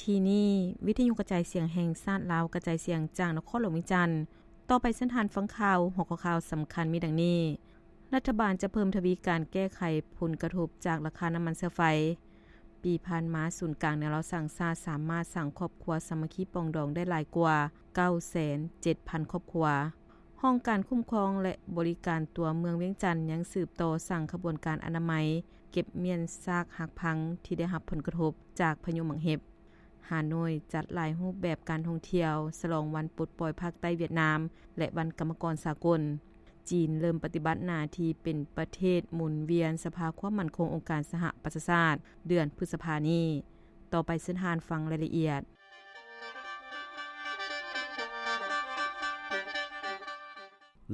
ທີ່ນີ້ ວິທຍຸກະຈາຍສຽງແຫ່ງຊາດລາວ ກະຈາຍສຽງຈາກນະຄອນຫຼວງວຽງຈັນ. ຕໍ່ໄປເຊີນທ່ານຟັງຂ່າວ. ຫົວຂໍ້ຂ່າວສຳຄັນມີດັ່ງນີ້: ລັດຖະບານຈະເພີ່ມທະວີການແກ້ໄຂຜົນກະທົບຈາກລາຄານ້ຳມັນເຊື້ອໄຟ. ປີຜ່ານມາ ສູນກາງແນວລາວສ້າງຊາດສາມາດສ້າງຄອບຄົວສາມັກຄີປອງດອງໄດ້ຫຼາຍກວ່າເກົ້າແສນເຈັດພັນຄອບຄົວ. ຫ້ອງການຄຸ້ມຄອງ ແລະ ບໍລິການຕົວເມືອງວຽງຈັນ ຍັງສືບຕໍ່ສ້າງຂະບວນການອະນາໄມ ເກັບມ້ຽນຊາກຫັກພັງທີ່ໄດ້ຮັບຜົນກະທົບຈາກພາຍຸໝາກເຫັບ. ຮ່າໂນ້ຍຈັດຫຼາຍຮູບແບບການທ່ອງທ່ຽວ ສະຫຼອງວັນປົດປ່ອຍພາກໃຕ້ຫວຽດນາມ ແລະ ວັນກຳມະກອນສາກົນ. ຈີນເລີ່ມປະຕິບັດໜ້າທີ່ເປັນປະເທດໝູນວຽນສະພາຄວາມໝັ້ນຄົງອົງການສະຫະປະຊາຊາດ ເດືອນພຶດສະພານີ້. ຕໍ່ໄປເຊີນທ່ານຟັງລາຍລະອຽດ.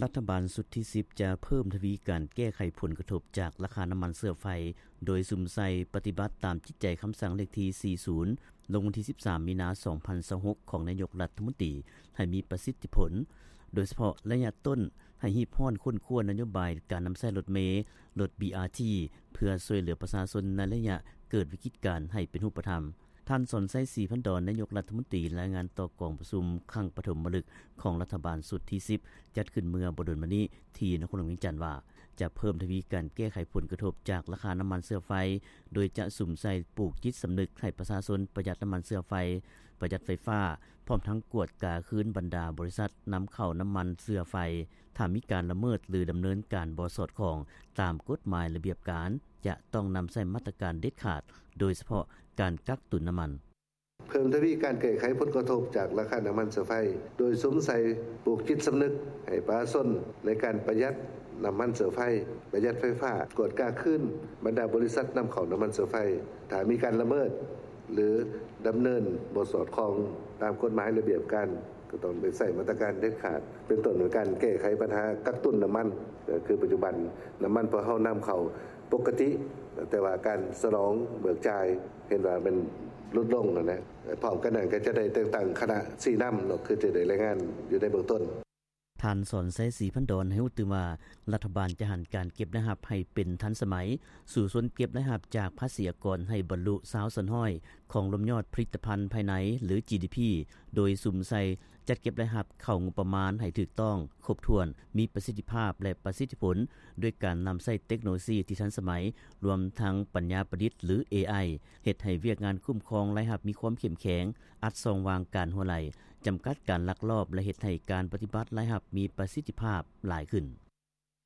ລັດຖະບານຊຸດທີສິບ ຈະເພີ່ມທະວີການແກ້ໄຂຜົນກະທົບຈາກລາຄານ້ຳມັນເຊື້ອໄຟ ໂດຍສຸມໃສ່ປະຕິບັດຕາມຈິດໃຈຄຳສັ່ງເລກທີສີ່ສິບ ລົງວັນທີສິບສາມ ມີນາ ສອງພັນຊາວຫົກ ຂອງນາຍົກລັດຖະມົນຕີ ໃຫ້ມີປະສິດທິຜົນ, ໂດຍສະເພາະໄລຍະຕົ້ນ ໃຫ້ຮີບຮ້ອນຄົ້ນຄວ້ານະໂຍບາຍການນຳໃຊ້ລົດເມ, ລົດ บีອາທີ ເພື່ອຊ່ວຍເຫຼືອປະຊາຊົນໃນໄລຍະເກີດວິກິດການໃຫ້ເປັນຮູບປະທຳ. ທ່ານ ສອນໄຊ ສີພັນດອນ ນາຍົກລັດຖະມົນຕີ ລາຍງານຕໍ່ກອງປະຊຸມຄັ້ງປະຖົມມະລຶກຂອງລັດຖະບານຊຸດທີສິບ ຈັດຂຶ້ນເມື່ອບໍ່ດົນມານີ້ ທີ່ນະຄອນຫຼວງວຽງຈັນວ່າ ຈະເພີ່ມທະວີການແກ້ໄຂຜົນກະທົບຈາກລາຄານ້ຳມັນເຊື້ອໄຟ ໂດຍຈະສຸມໃສ່ປູກຈິດສຳນຶກໃຫ້ປະຊາຊົນປະຢັດນ້ຳມັນເຊື້ອໄຟ, ປະຢັດໄຟຟ້າ, ພ້ອມທັງກວດກາຄືນບັນດາບໍລິສັດນຳເຂົ້ານ້ຳມັນເຊື້ອໄຟ. ຖ້າມີການລະເມີດ ຫຼື ດຳເນີນການບໍ່ສອດຄ່ອງຕາມກົດໝາຍລະບຽບການ ຈະຕ້ອງນຳໃຊ້ມາດຕະການເດັດຂາດ, ໂດຍສະເພາະການກັກຕຸນນ້ຳມັນ. ເພີ່ມທະວີການແກ້ໄຂຜົນກະທົບຈາກລາຄານ້ຳມັນເຊື້ອໄຟ ໂດຍສຸມໃສ່ປູກຈິດສຳນຶກໃຫ້ປະຊາຊົນໃນການປະຢັດນ້ຳມັນເຊື້ອໄຟ, ປະຢັດໄຟຟ້າ, ກວດກາຄືນບັນດາບໍລິສັດນຳເຂົ້ານ້ຳມັນເຊື້ອໄຟ. ຖ້າມີການລະເມີດ ຫຼື ດຳເນີນບໍ່ສອດຄ່ອງຕາມກົດໝາຍລະບຽບການ ກໍຕ້ອງໄດ້ໃຊ້ມາດຕະການເດັດຂາດ ເປັນຕົ້ນການແກ້ໄຂບັນຫາກັກຕຸນນ້ຳມັນ. ກໍຄືປັດຈຸບັນນ້ຳມັນພວກເຮົານຳເຂົ້າປົກກະຕິ, ແຕ່ວ່າການສະໜອງເບີກຈ່າຍເຫັນວ່າແມ່ນຫຼຸດລົງຫັ້ນນະ. ພ້ອມກັນນັ້ນກໍຈະໄດ້ແຕ່ງຕັ້ງຄະນະຊີ້ນຳເນາະ ຄືທີ່ໄດ້ລາຍງານຢູ່ໃນເບື້ອງຕົ້ນ. ທ່ານ ສອນໄຊ ສີພັນດອນ ໃຫ້ຮູ້ຕື່ມວ່າ ລັດຖະບານຈະຫັນການເກັບລາຍຮັບໃຫ້ເປັນທັນສະໄໝ, ສູ້ຊົນເກັບລາຍຮັບຈາກພາສີອາກອນໃຫ້ບັນລຸຊາວສ່ວນຮ້ອຍຂອງລວມຍອດຜະລິດຕະພັນພາຍໃນ ຫຼື ຈີດີພີ ໂດຍສຸມໃສ່ຈັດເກັບລາຍຮັບເຂົ້າງົບປະມານໃຫ້ຖືກຕ້ອງ, ຄົບຖ້ວນ, ມີປະສິດທິພາບ ແລະ ປະສິດທິຜົນ ດ້ວຍການນຳໃຊ້ເຕັກໂນໂລຊີທີ່ທັນສະໄໝ, ລວມທັງປັນຍາປະດິດ ຫຼື ເອໄອ ເຮັດໃຫ້ວຽກງານຄຸ້ມຄອງລາຍຮັບມີຄວາມເຂັ້ມແຂງ, ອັດຊ່ອງວ່າງການຮົ່ວໄຫຼ, ຈຳກັດການລັກລອບ ແລະ ເຮັດໃຫ້ການປະຕິບັດລາຍຮັບມີປະສິດທິພາບຫຼາຍຂຶ້ນ.